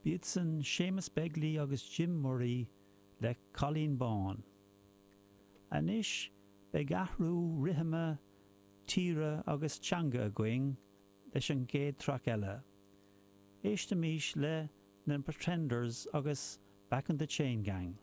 B'iad san Séamus Begley agus Jim Murray le Cailín Bán. Anois beidh athrú rithime, tíre agus teanga againn leis an gcéad traic eile. Éistimís le na Pretenders agus Back in the Chain Gang.